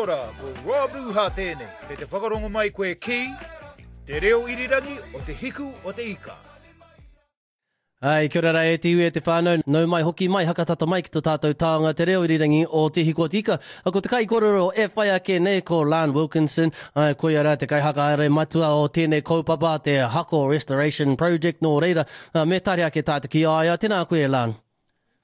ora, ko Rob Ruha tēnei. Kei te whakarongo mai koe ki Te Reo Irirangi o Te Hiku o Te Ika. Ai, kia ora rā e te iwi e te whānau, nau mai hoki mai, hakatata mai ki to tātou taonga te reo irirangi o Te Hiku o Te Ika. Ko te kaikōrero e whai ake nei ko Lan Wilkinson, ai, koia rā te kaihakahaere matua o tēnei kaupapa, te Hako Restoration Project, nō reira, me tare ake tātou ki a ia. Tēnā koe e Lan.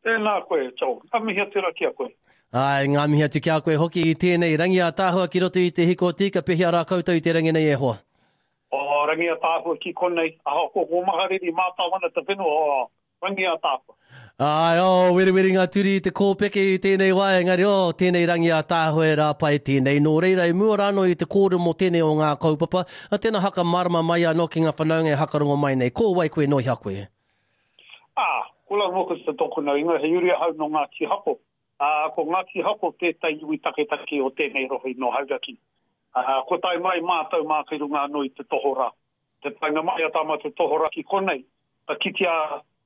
Tēnā koe, Joel. Ka mihi atu rā ki a koe. Āe, ngā mihi atu ki a koe hoki i tēnei rangi ātaahua ki roto i te hiko tika, pehea rā koutou i te rangi nei e hoa? Oh, rangi ātaahua ki konei, ahakoa ko Mahariri mātao ana te whenua, oh, rangi ātaahua. Āe, oh, weriweri ngā turi i te kōpeke i tēnei wā, engari, oh, tēnei rangi ātaahua e rā pai tēnei. Nō reira, i mua rānō i te kōrero mō tēnei o ngā kaupapa, tēnā hakamārama mai anō ki ngā whanaunga e hakarongo mai nei, ko wai koe, nō hea koe? Ā, ko La Mokasa tōku nau ingoa, he uri ahau nō Ngāti Hako. Ā, ko Ngāti Hako tētahi iwi taketake o tēnei rohe nō Hauraki. Ā, kua tae mai mātou mā kei runga anō i te tohorā. Te taenga mai a tā mātou tohorā ki konei, ka kitea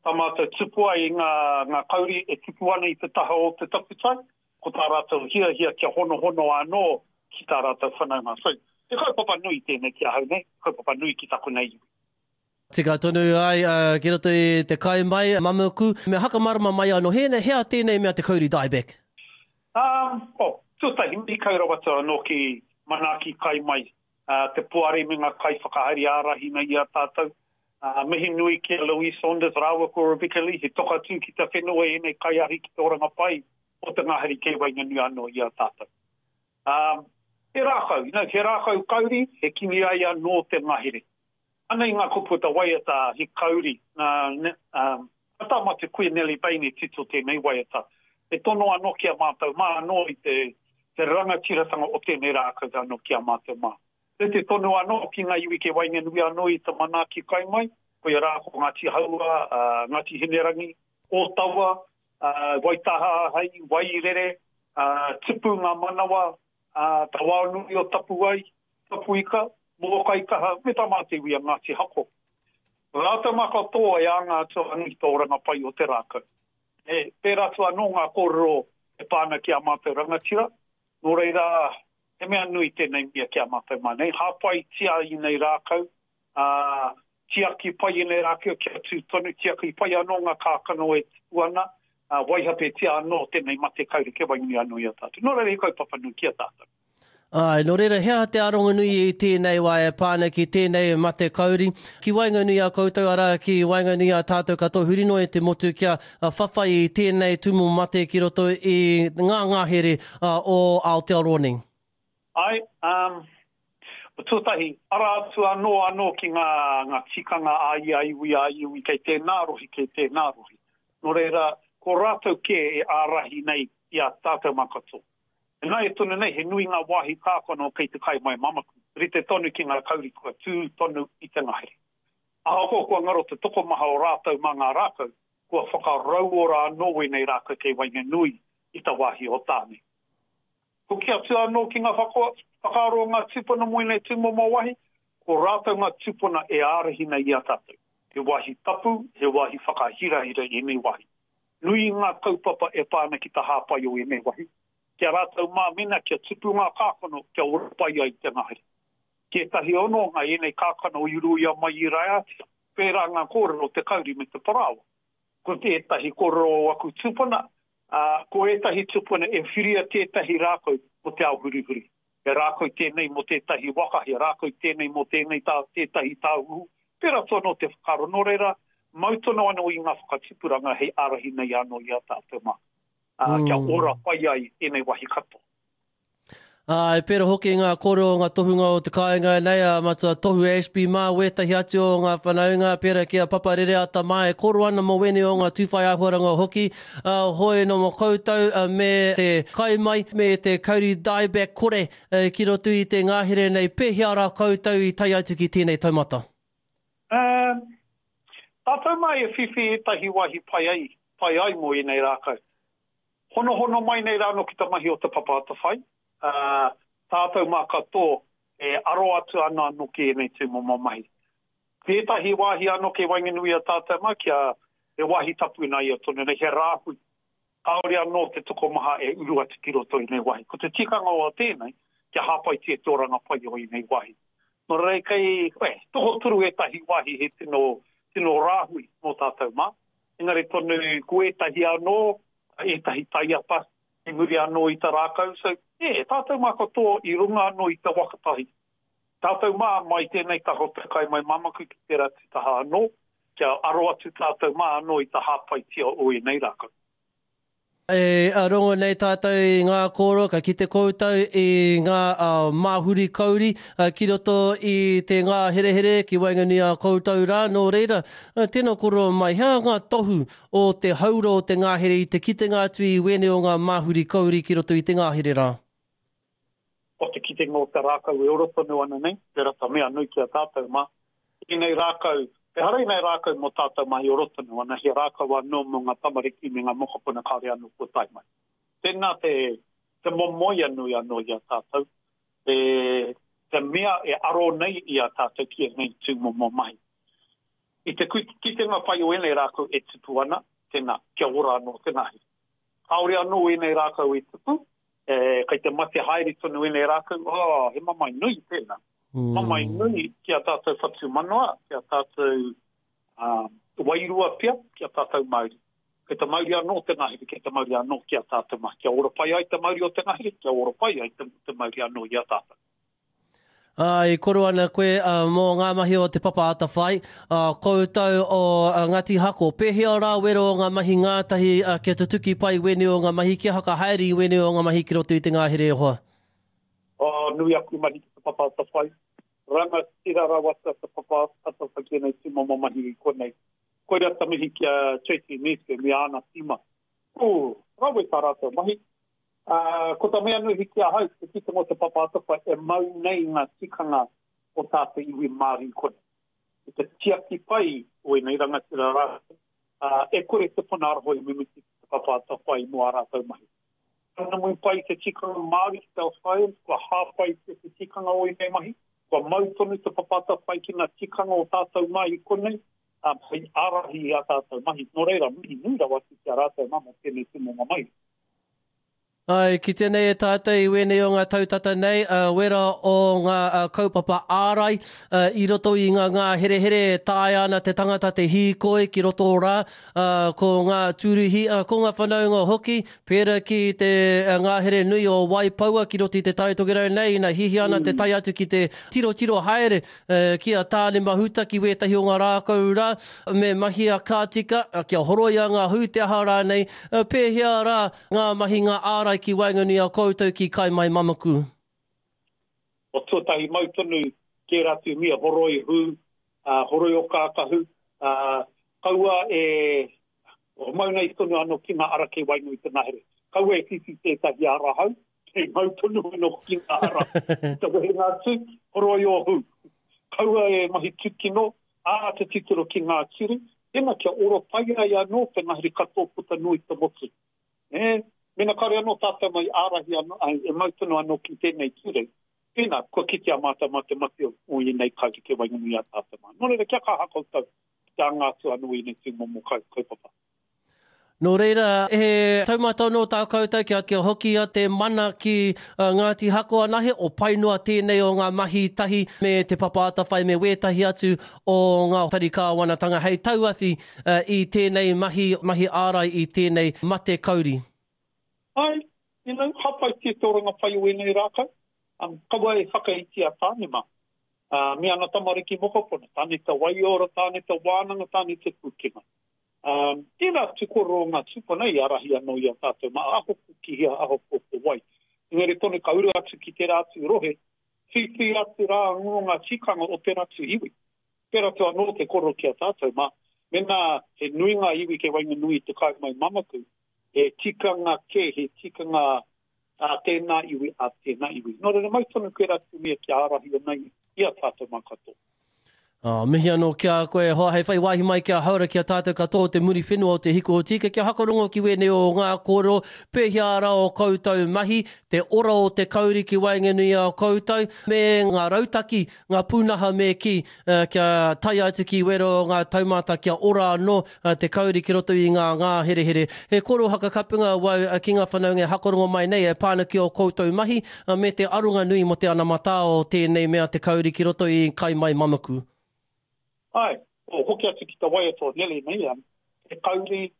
tā mātou tupu ai i ngā, ngā kauri e tupu ana i te taha o te takutai, ko tā rātou hiahia kia honohono anō ki tā rātou whanaunga. So, he kaupapa nui tēnei ki ahau nei, kaupapa nui ki taku nei iwi. Tika tonu ai ki roto i te kai mai, Mamuku, me hakamarama mai ano, he hea tenei mea te kauri dieback? Um, oh, tuatahi, mihi kau rawa atu anō ki Manaaki Kai Mai, te poari me ngā kaiwhakahaere ārahina i a tātou. Mihi nui ki a Louise Saunders rāua ko Rebecca Lee, he toka tū ki te whenua ēnei kaiahi ki te oranga pai o te ngahere kei waenganui anō i a tātou. Um, he rākau, you know, he rākau kauri, he kimi ai anō te ngahere. Anei ngā kupu o te waiata He Kauri, nā, nā tā mātou kuia Nellie Bain i tito tēnei waiata. E tono anō ki a mātou mā anō i te, te rangatiratanga o tēnei rākau anō ki a mātou mā. Rite tonu anō ki ngā iwi kei waenganui anō i te manaaki kai mai, koia rā ko Ngāti Haua, Ngāti Hinerangi, Ōtawa, Waitaha hei, Wairere, Tupu ngā manawa, Tawaonui o Tapuai, Tapuika, Mōkaikaha, me tā mātou iwi a Ngāti Hako. Rātou mā katoa e anga atu ana ki te oranga pai o te rākau. E, pērā atu anō ngā kōrero e pā ana ki ā mātou rangatira, nō reira, he mea nui tēnei mea ki a mātou mā nei. Hāpaitia ēnei rākau, ā, tiaki pai ēnei rākau kia tū tonu, tiaki pai anō ngā kākano e tupu ana, ā, waihapetia anō tēnei mate kauri kia wainui anō i a tātou. Nō reira, he kaupapa nui ki a tātou. Āe, nō reira, he aha te aronganui i tēnei wā e pā ana ki tēnei mate kauri, ki waenganui i a koutou, arā, ki waenganui i a tātou katoa huri noa i te motu kia whawhai i tēnei tūmomo mate ki roto i ngā ngahere o Aotearoa nei? Āe, um, tuatahi, ara atu anō anō ki ngā, ngā tikanga a ia iwi, a ia iwi kei tēnā rohe, kei tēnā rohe. Nō reira, ko rātou kē e ārahi nei i a tātou mā katoa. Ināia tonu nei, he nui ngā wāhi kākano kei te kai mai mamaku, rite tonu ki ngā kauri kua tū tonu i te ngahere. Ahakoa kua ngaro te tokomaha o rātou mā ngā rākau, kua whakarauora anō wēnei rākau kei waenganui i ta wāhi o Tāne. Hoki atu anō ki ngā whakaaro o ngā tūpuna mō ēnei tūmomo wāhi, ko rātou ngā tūpuna e ārahina i a tātou. He wāhi tapu, he wāhi whakahirahira ēnei wāhi. Nui ngā kaupapa e pā ana ki te hāpai o ēnei wahi, ki a rātou mā mena kia tupu ngā kākano kia ora pai ai te ngahere. Ki ētahi hononga ēnei kākano i ruia mai i Raiātea, pērā ngā kōrero o te kauri me te parāoa. Ko tētahi kōrero o aku tūpuna, ā, ko ētahi tūpuna e whiria tētahi rākau mō te ao hurihuri. He rākau tēnei mō tētahi waka, he rākau tēnei mō tēnei tā, tētahi tāhuhu. Pērā atu anō te whakaaro. Nō reira, mau tonu anō i ngā whakatipuranga hei ārahi nei anō i a tātou mā, ā, kia ora pai ai ēnei wāhi katoa. Ā, e pērā hoki ngā kōrero o ngā tohunga o te kāinga nei, a Matua Tohu Ashby mā, wētahi atu o ngā whanaunga, pērā ki a Papa Rereata mā, e kōrero ana mō wēnei o ngā tūwhai āhuaranga hoki, ā, hoi nō mō koutou me te kai mai, me te kauri dieback kore ki roto i te ngahere nei, pēhea rā koutou i tae atu ki tēnei taumata? Ā, tātou mā e whiwhi ētahi wāhi pai ai, pai ai mō ēnei rākau. Honohono mai nei rānō ki te mahi o Te Papa Atawhai, ā, tātou mā katoa e aro atu ana anō ki ēnei tūmomo mahi. Tētahi wāhi anō kei waenganui i a tātou mā kia he wāhi tapu nā ia tonu nei, he rāhui. Kāore anō te tokomaha e uru atu ki roto i nei wāhi. Ko te tikanga o tēnei, kia hāpaitia te oranga pai o ēnei wāhi. Nō reira, kei, eh, tokotoru ētahi wāhi he tino, tino rāhui mō tātou mā. Engari tonu, ko ētahi anō, ētahi taiapa, i muri anō i te rākau. So, eh, tātou mā katoa i runga anō i te waka tahi. Tātou mā, mai tēnei taha o te kai mai mamaku ki tērā atu taha anō, kia aro atu tātou mā anō i te hāpaitia o ēnei rākau. E rongo nei tātou i ngā kōrero, ka kite koutou i ngā māhuri kauri ki roto i te ngāherehere ki waenganui a koutou rā, nō reira, tēnā kōrero mai, he aha ngā tohu o te haura o te ngāhere i te kitenga atu i wēnei o ngā māhuri kauri ki roto i te ngāhere rā? O te kitenga o te rākau e ora tonu ana nei, tērā ta mea nui ki a tātou mā. Ēnei rākau, ehara ēnei rākau mō tātou mā e ora tonu ana, he rākau anō mō ngā tamariki me ngā mokopuna kāore anō kua tae mai. Tēnā te, te momoia nui anō i a tātou, te, te mea e aro nei i a tātou ki ēnei tūmomo mahi. I te kitenga pai o ēnei rākau e tupu ana, tēnā, kia ora anō te ngahere. Kāore anō ēnei rākau i tupu, e, kei te mate haere tonu ēnei rākau, oh, he mamae nui tēnā. Mm. Mamae nui ki a tātou whatumanawa, ki a tātou uh, wairua pea, ki a tātou mauri. Kei te mauri anō te ngahere, kei te mauri anō ki a tātou mā. Kia ora pai ai te mauri o te ngahere, kia ora pai ai te, te mauri anō i a tātou. Ā, i koro ana koe mō ngā mahi o Te Papa Atawhai, koutou o Ngāti Hako. Pēhea rā wero o ngā mahi ngātahi kia tutuki pai wēnei o ngā mahi, kia whakahaere i wēnei o ngā mahi ki roto i te ngahere e hoa? Oh, nui aku mahi ki Te Papa Atawhai. Rangatira rawa atu a Te Papa Atawhai ki ēnei tūmomo mahi i konei. Koira ta mihi ki a Tracy Meeske me āna tīma. Ooh, rawe tā rātou mahi. Ā, ko ta mea nui ki ahau, te kitenga o Te Papa Atawhai e mau nei ngā tikanga o tā te iwi Māori i konei. I te tiaki pai o ēnei rangatira rātou, ā, e kore te puna aroha i mimiti ki Te Papa Atawhai mō ā rātou mahi. Ka pai te tikanga Māori ki te ao science, kua hāpaitia te tikanga o ēnei mahi, kua mau tonu Te Papa Atawhai ki ngā tikanga o tātou mā i konei, ā, hei ārahi i ā tātou mahi. Nō reira, mihi nui rawa atu ki a rātou mā mō tēnei tūmomo mahi. Āe, kitea nei e tātou i wēnei o ngā tau tata nei, wera o ngā kaupapa ārai i roto i ngā ngāherehere e taea ana te tangata te hīkoi ki roto rā, ko ngā tūruhi, ko ngā whanaunga hoki, pērā ki te ngahere nui o Waipoua ki roto i Te Tai Tokerau nei, ina hihia ana te tae atu ki te tirotiro haere ki a Tāne Mahuta ki wētahi o ngā rākau rā, me mahia ka tika, kia horoia ngā hū te aha rānei, pēhea rā Ngā mahi ngā ārai ki waenganui a koutou ki Kaimai-mamaku. O tuatahi mau tonu tērā atu mia horoi hū, horoi o kākahu, kaua e mau nei tonu anō ki ngā ara kei waenganui te ngahere. Kaua e whiwhi tētahi ara hau, kei mau tonu anō ki ngā ara. I te wehenga atu, horoi o hū. Kaua e mahi tūkino, ā, te titiro ki ngā tiri, tēnā kia ora pai ai anō te ngahere katoa puta noa i te motu. Ē, mēnā kāore anō tātou mai ārahi anō, e mau tonu anō ki tēnei ture, tēnā, kua kitea mātou mā te mate o ēnei kauri kei waenganui i a tātou mā. Nō reira, kia kaha koutou ki te anga atu anō i ēnei tūmomo kaupapa. Nō reira, he taumata anō tā koutou kia, kia hokia te mana ki Ngāti Hako anahe, o pai noa tēnei o ngā mahi tahi me Te Papa Atawhai me wētahi atu o ngā tari kāwanatanga hei tauawhi i tēnei mahi, mahi ārai i tēnei mate kauri. Āe, you know, hāpaitia te oranga pai o ēnei rākau, kaua e whakaitia Tāne mā, me ana tamariki mokopuna, Tāne te waiora, Tāne te wānanga, Tāne te pūkenga. Ā, tērā atu kōrero o ngā tūpuna i ārahi anō i a tātou mā ahoko ki hea, ahoko ko wai. Engari tonu ka uru atu ki tērā atu rohe, whiwhi atu rā anō ngā tikanga o tērā atu iwi. Pērā atu anō te kōrero ki a tātou mā, mēnā he nui ngā iwi kei waenganui i te kāinga mai mamaku, he tikanga kē, he tikanga ā tēnā iwi, ā tēnā iwi. Nō reira, mau tonu koe rā te mea kia ārahi ana i a tātou mā katoa. Oh, mihi anō ki a koe e hoa hei whai wāhi mai ki a Haora ki a tātou katoa o te Muriwhenua o Te Hiku o Tika kia hakarongo ki wēnei o ngā kōrero pēhea rā o koutou mahi, te ora o te kauri ki waenganui i a koutou me ngā rautaki, ngā pūnaha me kī kia tae atu ki wērā o ngā taumata kia ora anō te kauri ki roto i ngā ngāherehere. He kōrero hakakapunga wau ki ngā whanaunga e hakarongo mai nei e pā ana ki ō koutou mahi me te aronga nui mō te anamatā o tēnei mea te kauri ki roto i Kai Mai Mamaku. Āe, hoki atu ki te waiata o Nelly nei, he kauri,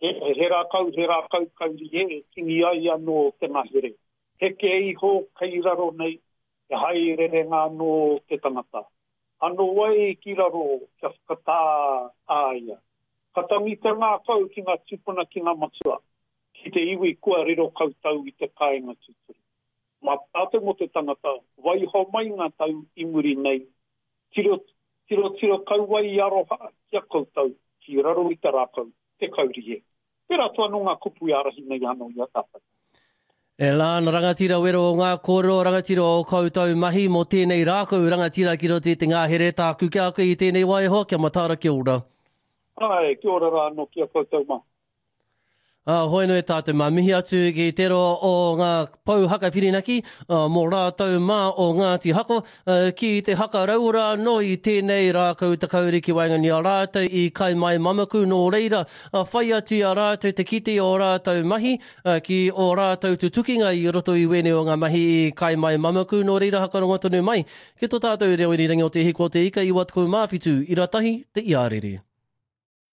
he rākau, he rākau kauri e tingi ai anō te ngahere. Heke iho kei raro nei, he haererenga anō te tangata. Ano ai ki raro kia whakatā a ia. Ka tangi te ngākau ki ngā tūpuna ki ngā matua, ki te iwi kua riro koutou i te kāinga tūturu. Mā tātou mō te tangata, waiho mai ngā tau i muri nei, tiro, tirotiro kau ai i aroha ki a koutou ki raro i te rākau, te kauri e. Tērā atu anō ngā kupu e ārahi nei anō i a tātou. E Lana rangatira wero o ngā kōrero rangatira o koutou mahi mō tēnei rākau rangatira ki roto i te ngahere tāku ki a koe i tēnei wā e hoa kia mataara kia ora. Āe, kia ora rā anō ki a koutou mā. Ā, hoi nui tātou mā. Mihi atu ki te roa o ngā pou haka whirinaki mō rātou mā o Ngāti Hako ki te haka rauora anō i tēnei rākau takauri ki waenganui i a rātou i Kaimai Mamaku nō reira whai atu i a rātou te kite i ō rātou mahi ki ō rātou tutukinga i roto i wēnei o ngā mahi i Kaimai Mamaku nō reira hakarongo tonu mai ki tō tātou reo irirangi o Te Hiku o Te Ika 97 ira tahi te iarere.